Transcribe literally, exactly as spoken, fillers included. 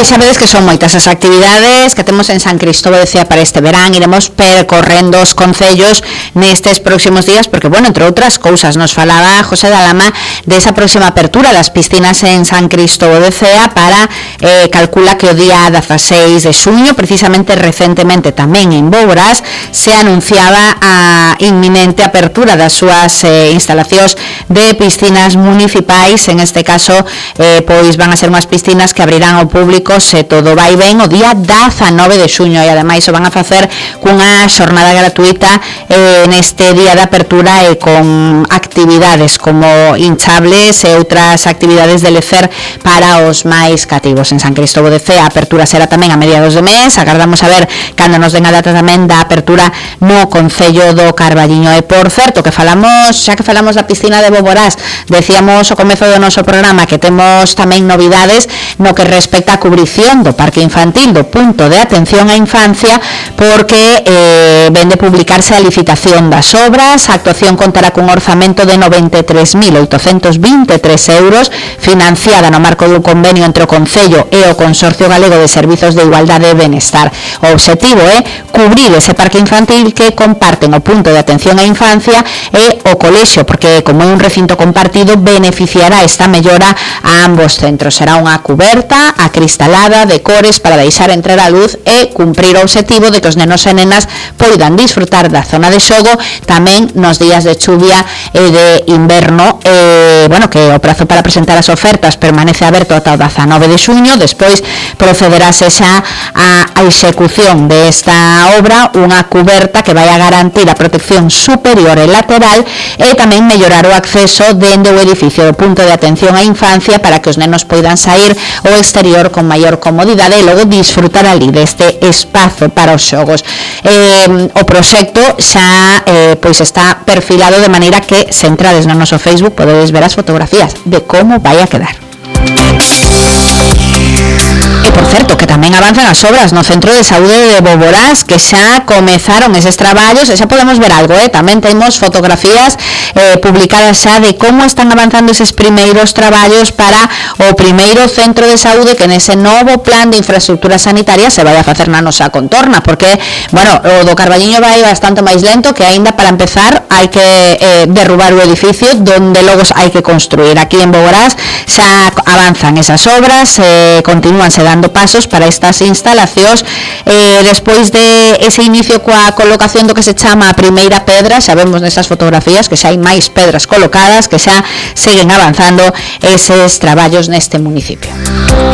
Pois sabedes que son moitas as actividades que temos en San Cristóbal de Cea para este verán. Iremos percorrendo os concellos nestes próximos días, porque, bueno, entre outras cousas, nos falaba José Dalama desa próxima apertura das piscinas en San Cristóbal de Cea para, eh, calcula que o día dieciséis de xuño, precisamente recentemente tamén en Boborás, se anunciaba a inminente apertura das súas eh, instalacións de piscinas municipais. En este caso, eh, pois van a ser unhas piscinas que abrirán ao público, se todo vai ben, o día diecinueve de xuño, e ademais o van a facer cunha xornada gratuita eh, neste día de apertura e con actividades como hinchables e outras actividades de lecer para os máis cativos. En San Cristóbal de Cea a apertura será tamén a mediados de mes. Agardamos a ver cando nos den a data tamén da apertura no concello do Carballiño. E por certo, que falamos, xa que falamos da piscina de Boborás, decíamos ao comezo do noso programa que temos tamén novidades no que respecta a cubrición do parque infantil do punto de atención á infancia, porque eh, ven de publicarse a licitación das obras. A actuación contará cun orzamento de noventa e tres mil oitocentos vinte e tres euros, financiada no marco do convenio entre o Concello e o Consorcio Galego de Servizos de Igualdade e Benestar. O obxectivo é cubrir ese parque infantil que comparten o punto de atención á infancia e o colexio, porque como é un recinto compartido, beneficiará esta mellora a ambos centros. Será unha cuberta acristalada de cores para deixar entrar a luz e cumprir o obxectivo de que os nenos e nenas poidan disfrutar da zona de xogo tamén nos días de chuvia e de inverno. E, bueno, que o prazo para presentar as ofertas permanece aberto ata o diecinueve de xuño. Despois procederase xa a execución desta obra, unha cuberta que vai a garantir a protección superior e lateral e tamén mellorar o acceso dende o edificio do punto de atención á infancia para que os nenos poidan sair ao exterior con maior comodidade e logo disfrutar ali deste espazo para os xogos. Eh, o proxecto xa eh, pois está perfilado de maneira que, se entrades no noso Facebook, podedes ver as fotografías de como vai a quedar. E, por certo, que tamén avanzan as obras no Centro de Saúde de Boborás, que xa comezaron eses traballos, e xa podemos ver algo, eh? Tamén temos fotografías eh, publicadas xa de como están avanzando eses primeiros traballos para o primeiro centro de saúde que nese novo plan de infraestructura sanitaria se vai a facer na nosa contorna, porque, bueno, o do Carballiño vai bastante máis lento, que aínda para empezar hai que eh, derrubar o edificio donde logo hai que construir. Aquí en Boborás xa avanzan esas obras, eh, continúanse dando pasos para estas instalacións. Eh, despois de ese inicio coa colocación do que se chama a primeira pedra, xa vemos nesas fotografías que xa hai máis pedras colocadas, que xa seguen avanzando eses traballos neste municipio.